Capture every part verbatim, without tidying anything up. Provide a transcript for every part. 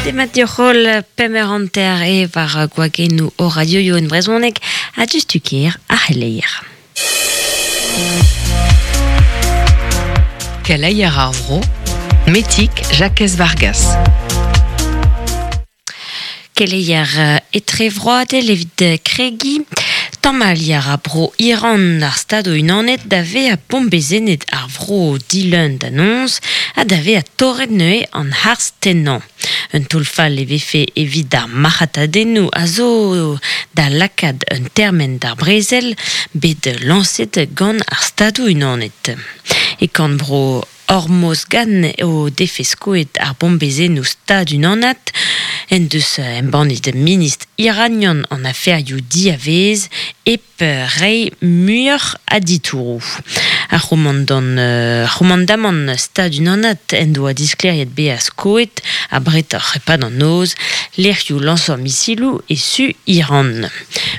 Demat dioc'hol pemer hanter e war gwagennoù o radioioù en brezhoneg ha justuker a c'helleir. Keleier ar vro, Metik Jakez Vargas. Keleier etrevroadel evit kregi, Tamal a bro Iran ar stado unanet da ve a bombezenet ar vro dilun d'annonce ha da ve a torret neue an harz tennañ. Un tolfal e vefe evit ar marc'hatadennoù a zo da lakad un termen d'ar brezel bet lañset gant ar stado unanet. E kan bro Hormozgan eo defe skoet ar bombezennoù stad unanat en deus embannet ministr iranian an aferioù diavez ep rei muioc'h a ditourou. Ar c'homandant, euh, c'homandamant stad unanat en doa diskleriet bea skoet a bretoc'h epad an noz lec'hioù lañsañ misilioù e su Iran.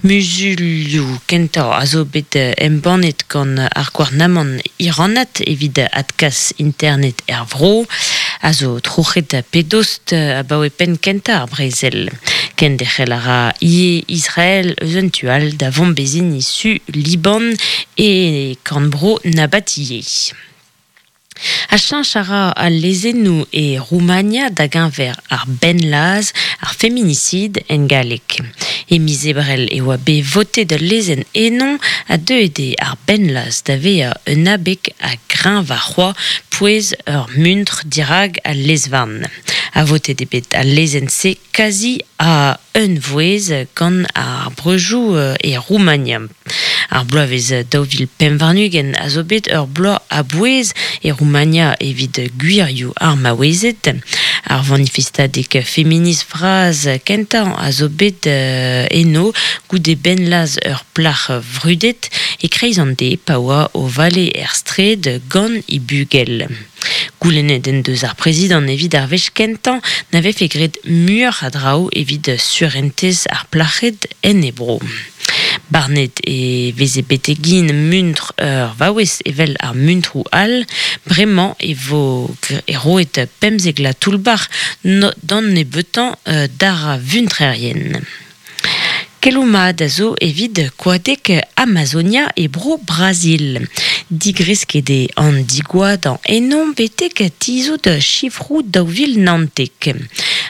Muzulioù kentañ a zo bet embannet gant ar gouarnamant iranat evit adkas internet er vro, a zo troc'het pedost abaoe penn kentañ ar brezel. Kenderc'hel a ra ie Israël eus un tual da vombezin su Liban e korn-bro Nabatiye. A cheñch a ra al lezennoù e Roumania da geñver ar benlaz, ar feminicide en galleg. E miz ebrel e oa bet votet ul lezenn ennon a deuet eo ar benlaz da vezañ un abeg a greñv ar c'hoa pouez ur muntr dirag al lezvarn. A votet eo bet al lezenn-se kazi a un vouez gant ar breujoù e Roumania. Ar bloavezh daou vil pemp warn-ugent a zo bet ur bloaz a bouez e Roumania evit gwirioù ar maouezed. Ar vanifestadeg feminist vras kentañ a zo bet eno goude benlaz ur plac'h vrudet e kreiz an de pa oa o vale er straed gant he bugel. Goulennet en deus ar prezidant evit ar wech kentañ na vefe graet muioc'h a draoù evit surentez ar plac'hed en ebro. Barnet e veze betegin muntr ur vaouez evel ar muntroù all, bremañ e vo e roet pemzek la toullbac'h d'an nebeutañ d'ar vuntrerien. Keloù mat a zo evit koadeg Amazonia e bro Brazil. Digresket eo an digoadañ ennon betek tizhout sifroù daou vil naontek.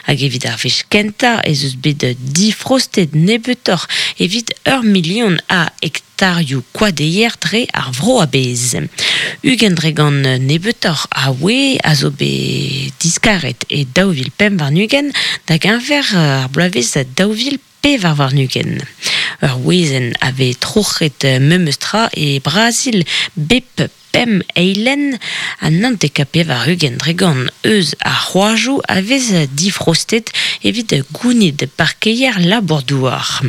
Hag evit ar wech kentañ ez eus bet difrostet nebeutoc'h evit ur milion a hektarioù koadeier dre ar vro a-bezh. Ugent dre gant nebeutoc'h a oe a zo bet diskaret e daou vil pemp warn-ugent da geñver ar bloavezh daou vil pevar warn-ugent. Ur wezenn a vez troc'het memes tra e Brazil bep pemp eilenn ha naontek ha pevar ugent dre gant eus ar c'hoajoù a vez difrostet evit gounid parkeier labour-douar.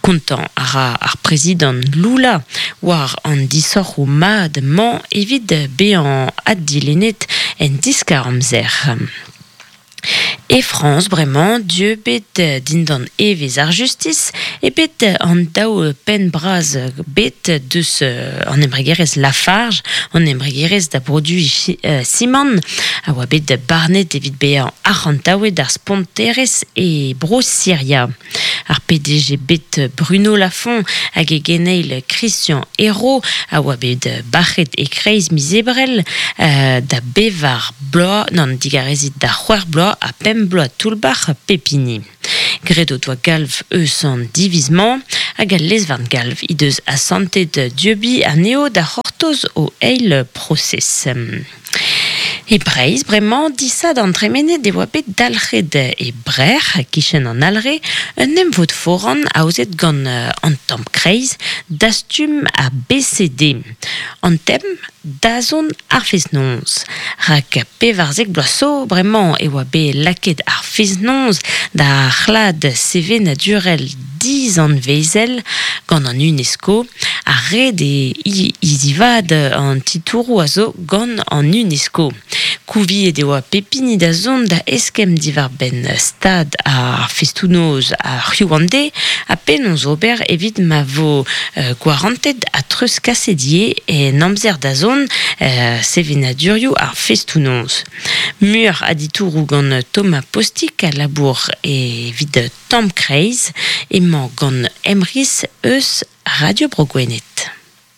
Kontañ a ra ar prezidant Lula war an disoc'hoù mat-mañ evit bezañ addilennet en diskar-amzer. E Frañs bremañ dieub bet dindan evezh ar justis e bet an daou penn bras bet deus an embregerezh Lafarge, an embregerezh da broduiñ simant, a oa bet barnet evit bezañ arc'hantaouet ar sponterezh e bro Siria. Ar P D G bet Bruno Lafont hag e geneil Christian Hérault a oa bet bac'het e kreiz miz ebrel da bevar bloaz, nann digarezit da c'hwec'h bloaz ha pemp bloaz toullbac'h pepini. Graet o doa galv eus an divizmañ hag al lezvarn galv he deus asantet dieubiñ anezho da c'hortoz o eil prosez. E Breizh, bremañ, disad an tremenet e oa bet dalc'het e Brec'h, kichen an Alre, un emvod foran aozet gant an tamm kreiz dastum a B C D. An tem, dazont ar fest-noz. Rak pevarzek bloaz zo, bremañ e oa bet lakaet ar fest-noz da c'hlad sevenadurel dizanvezel gant an UNESCO, ar red e hizivat an titouroù a zo gant an UNESCO. Kouviet e oa pepini da zont da eskemm diwar-benn stad ar festoù-noz ar c'hiv-an-deiz ha penaos ober evit ma vo euh, gwarantet ha treuzkaset ivez en amzer da zont euh, sevenadurioù ar festoù-noz. Muioc'h a ditouroù gant Thomas Postic Postik a labour evit Tamm Kreiz emañ gant Emrys eus Radio Bro Gwened.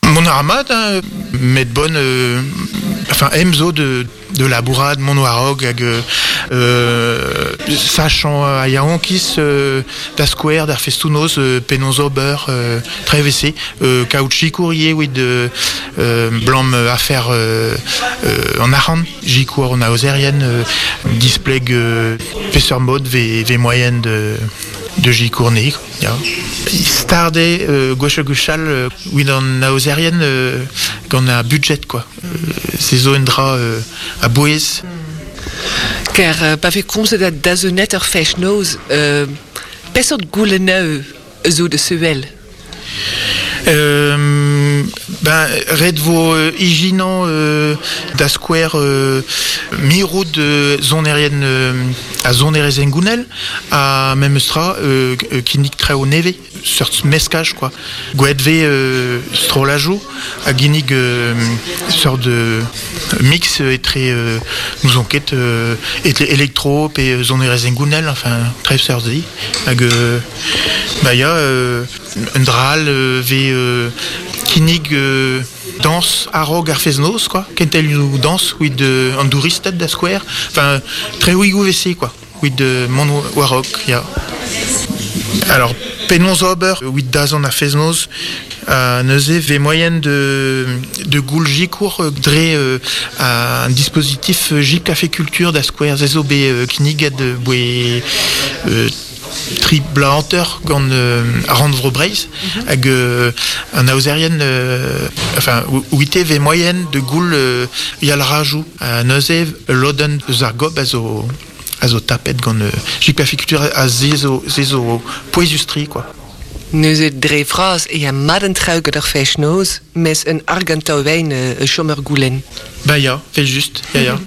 Mon armad, hein, met bon, euh, enfin, emzo de, de labourad, mon warog, hag euh, sachant a yaonkis euh, da square, d'ar festounoz, euh, penonz ober, euh, trevese, euh, kaout courrier, oui, de euh, blam affaire euh, euh, en arran, jikour en aozerien, euh, displeg euh, peseurt mod ve, ve moyen de de jikourne, ya. Starde euh, gwech gwechal euh, wid an aozerien euh, gant a budget quoi. Euh, se zo un dra euh, a bouez. Ker euh, pa vez komzet da da zo net ur fech noz, euh, peseurt gouleneu zo de sevel? Euh, ben, ret vo euh, ijinan euh, da square euh, mirout de zonerien euh, a zonerezen gounel a memestra euh, kinnig treo neve seurt meskaj quoi. Gweet ve euh, strolajou a ginnig euh, sort de mix etre euh, nous enquête euh, etre électro pe zonerezen gounel enfin trev seurt zi hag euh, ba ya euh, un dral euh, ve euh, kinnig euh, danse arog ar feznoz quoi kentel ou danse with euh, an douristed da square enfin tre ouigou vc quoi with euh, mon warok ya. Alors penonz ober with dazon ar feznoz a neuze ve moyen de de goul jikour dre euh, a un dispositif J Café Culture da square zezo be euh, kinnig ad boe euh, tri bla hanter gant euh, ar Breiz hag euh, an aozerien euh, enfin ouite ve moyen de goul euh, yal rajou a neuze loden eus ar gob a zo a zo tapet gant euh, J Café Culture a zezo zezo poezustri quoi. Neuze dre vras e a maden trauget ar fech noz, mes un argantao wein euh, chomer goulen. Ba ya, fait juste, ya ya.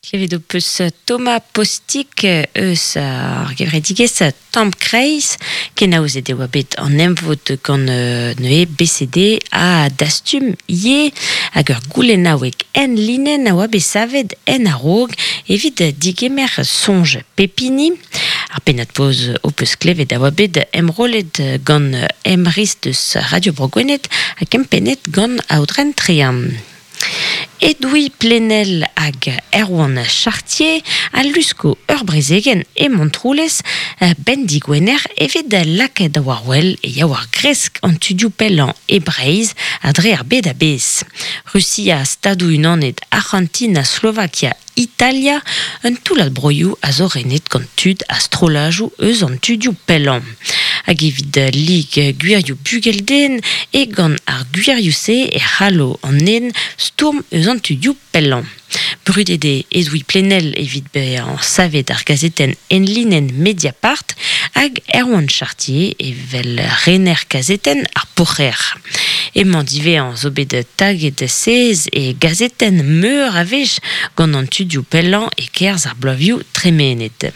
Klevet ho peus Thomas Postik eus ar gevredigezh Tamm Kreiz, kenaozet e oa bet an emvod gant neuze B C D a dastum ie hag ur goulennaoueg en linen a oa bet savet en a-raok evit digemer soñj pepini. Ar pennad poz ho peus klevet a oa bet emrolet gant Emrys deus Radio Bro Gwened ha kempennet gant Aodren Trean. Edoui Plenel hag Erwan Chartier a lusko ur brezegen e Montroulez ben digwener evet lakaet war wel e ya war gresk an tudioù pellañ e Breizh a dre ar bed a bez. Russia, Stadoù Unanet, Argentina, Slovakia, Italia, un toullad broioù a zo renet gant tud a strolajoù eus an tudioù pellañ. Hag evit lig gwirioù bugelden e gant ar gwirioù-se e c'hallo an en stourm eus an tudioù pellañ. Brudet eo Edoui Plenel evit bezañ savet ar gazetenn enlinenn Mediapart hag Erwan Chartier evel rener kazetenn ar Poc'her. Emañ divezañ zo bet taget sez e gazetenn meur a wech gant an tudioù pellañ e-kerzh ar bloavioù tremenet.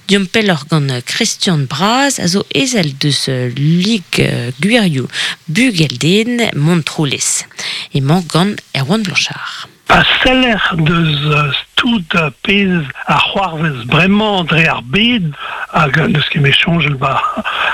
Diomp pelloc'h gant Christian Braz a zo ezel deus lig gwirioù bugelden Montroulez. Emañ gant Erwan Blanchard. Pa seller deus tout pez ar c'hoarvez bremañ dre ar bed hag neus ket me soñjel ba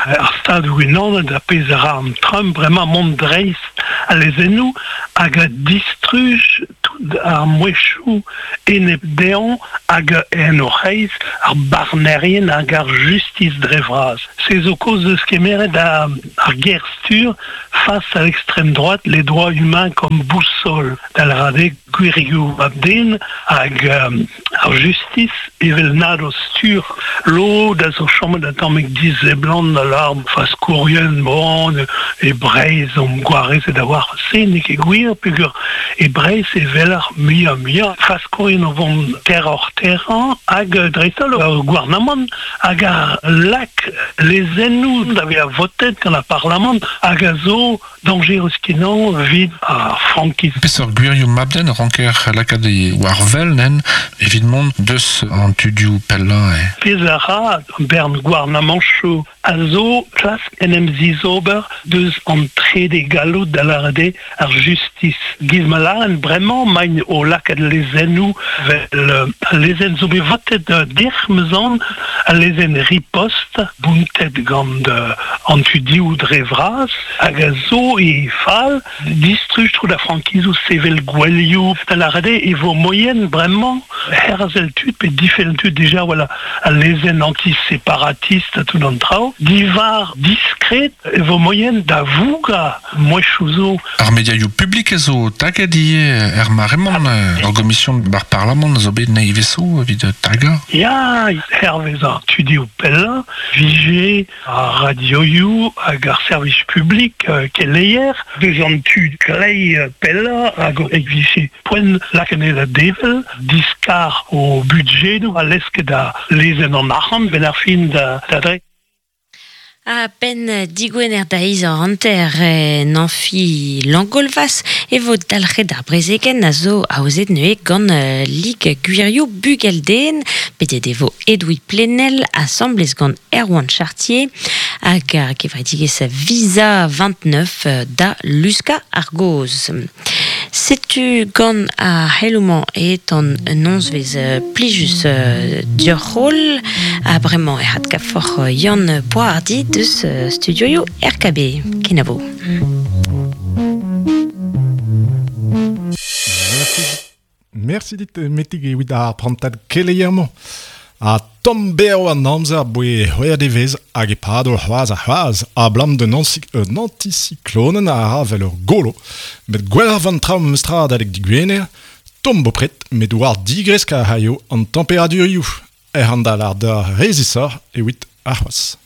ar stadoù unanet a pez a ra an Trump bremañ mont dreist a lezennoù hag a distruj tout ar mouezhioù enep dezhañ hag en o c'hreiz ar barnerien hag ar justice dre vras. Se zo kaoz deus kemeret ar, ar ger-stur face à l'extrême droite, les droits humains comme boussole d'al rade gwirioù abden hag ar justice evel nad o stur lo da zo chomet a tamm dizeblant da l'arm faskourien bon e Breizh om gwarez e da war se n'eo ket gwir peogwir e Breizh evel ar muiañ muiañ faskourien o vont terror terrañ hag dreist-holl ar gouarnamant hag ar lak lezennoù da vezañ votet gant ar parlamant hag a zo dañjerus kenañ evit ar frankiz. Peseurt gwirioù mabden ranker lakaat e war wel nen evit mont deus an tudioù pellañ e. Pezh a ra bern gouarnamanchoù a zo klask en em zizober deus an trede galloud da lâret ar justis. Giz ma lâren bremañ maint o lakaat lezennoù vel al lezenn zo bet votet dec'h meuzan, al lezenn riposte bountet gant an tudioù dre vras hag a zo e fal distruj tro da frankizoù sevel gwelioù da lâret e vo moyen bremañ herzel tud pe difenn tud déjà voilà al lezenn anti-séparatiste tout an traoù divar diskret e vo moyen da vouga mouechoù zo. Ar mediaioù publik a zo taget ivez er maremont ur gomision bar parlamant zo bet neiveso evit taga. Ya, hervez ar tudioù pellañ, vije ar radioioù hag ar servij publik keleier, deus an tud klei pellañ hag e vije poent lakaet da devel, diskar o budjedoù a lesket da lezenn an arc'hant ben ar fin da, da dre. A ben digwener da iz an hanter en amfi Langolvas e vo dalc'het ar brezegen a zo aozet neue gant Lig Gwirioù Bugelden, pedet e vo Edoui Plenel asamblez gant Erwan Chartier hag ar gevredigezh Visa vingt-neuf da Luska Argoz. Setu gant ar c'heloù-mañ et an nozvezh plijus dioc'h ha bremañ e c'had kaforc'h Yann Poardi deus studioioù R K B. Kenavo. Merci. Merci dit metig evit ar prantad keleier-mañ. A tomm berv an amzer boe c'hwec'h devezh hag e pado c'hoazh ha c'hoazh a blam d'un anticyclonen a ra vel ur golo. Met gwelloc'h van traoù meus tra adalek digwener, tomm bopred met war digresk a c'haio an temperadurioù. Er an dal ar d'ar rezisoc'h evit ar c'hoazh.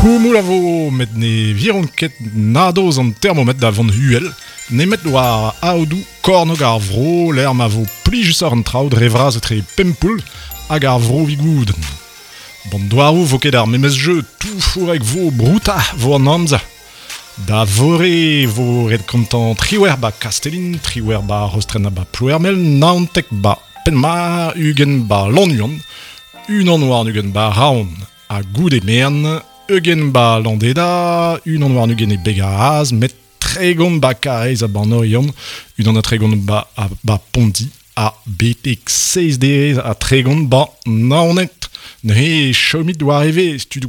Koumoul a vo, met ne viront ket nadoz an thermomètre da vont huel, nemet war aodoù kornog ar vro, l'er ma vo plijus ar an traoù dre vras etre pempoul hag ar vro vigouden. Bon doaroù vo ket ar memes jeu, tout fourek vo brouta vo an amzer. Da vore vo ret kontant triwer ba Kastelin, triwer ba Rostren ba Ploermel, naontek ba Penmar, ugen ba Lannuon, unan war ugen ba Raon, ha goude mern, Eugen ba Landeda, unan war ugen e Begaraz, met tregont ba Karez a Banorion, unan a tregont ba, a, ba Pondi, a betek seiz derez a tregont ba Naoned. Neuze chomit war eve, studou.